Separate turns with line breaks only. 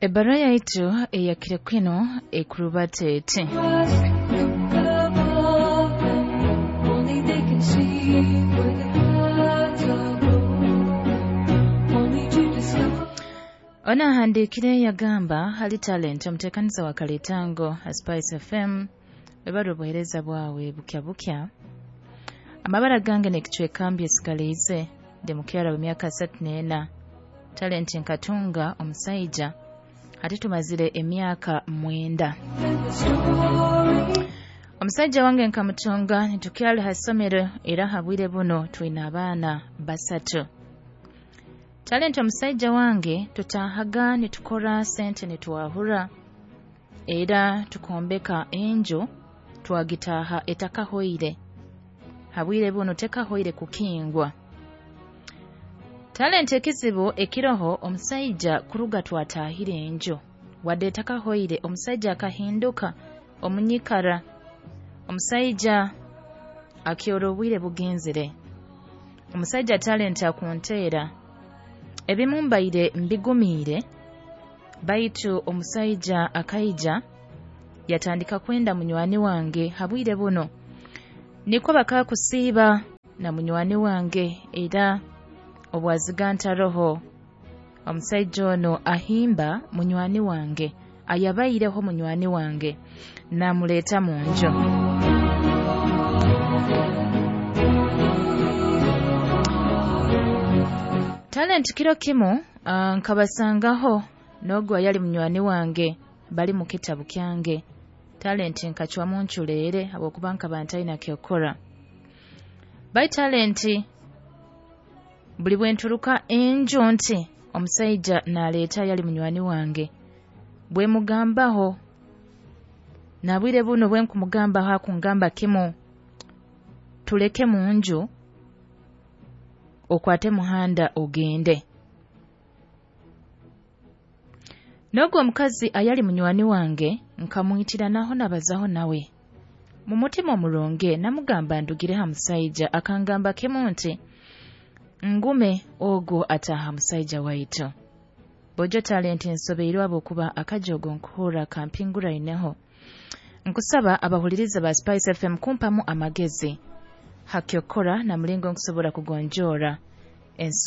Ebbaruha yaitu eyakire kinu ekurubata eti:
Above them, only they can see where the clouds are going. Only to discover.
Ono ahandiikire yagamba hali Talent, omuteekaniza wa Kalitango ha Spice FM, webale obuheereza bwawe bukya bukya. Amabara gange n'ekicweka mbyesigaliize, ndi mukyara w'emyaka 34. Talent, nkatunga omusaija hati tumazire emyaka 9.
The story.
Omusajja wange nkamutunga nitukyali ha ssomero, era ha bwire buno twine abaana 3. Talent, omusajja wange tutaahaga nitukora sente nitwahura, era tukombeka enju twagitaaha etakahoire. Ha bwire buno tekahoire kukingwa. Talent, ekizibu ekiroho omusaija kuruga twataahire enju wadde etakahoire, omusaija akahinduka omunyikara. Omusaija akyora obwire bugenzere. Omusaija Talent akunteera ebimu mbaire mbigumiire, baitu omusaija akaija yatandika kwenda munywani wange. Ha bwire buno nikwo bakakusiiba na munywani wange, era obwaziga ntaroho omusaija ono ahimba munywani wange ayabaireho munywani wange namuleeta mu nju. Talent, kiro kimu nkabasangaho n'ogwo ayali munywani wange bali mu kitabu kyange. Talent, nkacwamu nculeere habwokuba nkaba ntaina kyokora. Bai Talent, buli bwe nturuka enju nti omusaija naleeta ayali munywani wange, bwe mugambaho nabwire buno bwe nkumugambaho akungamba kimu, tuleke mu nju okwate muhanda ogende. N'ogwo omukazi ayali munywani wange nkamwitira naho nabazaho nawe mu mutima omurungi, namugamba ndugire ha musaija. Akangamba kimu nti ngume ogwo ataaha musaija waitu. Bojo Talent, nsobeirwe habwokuba akajogo nkuhurra kampinguraineho. Nkusaba abahuliriza ba Spice FM kumpamu amagezi hakyokora na mulingo nkusobora kugonjoora ensonga.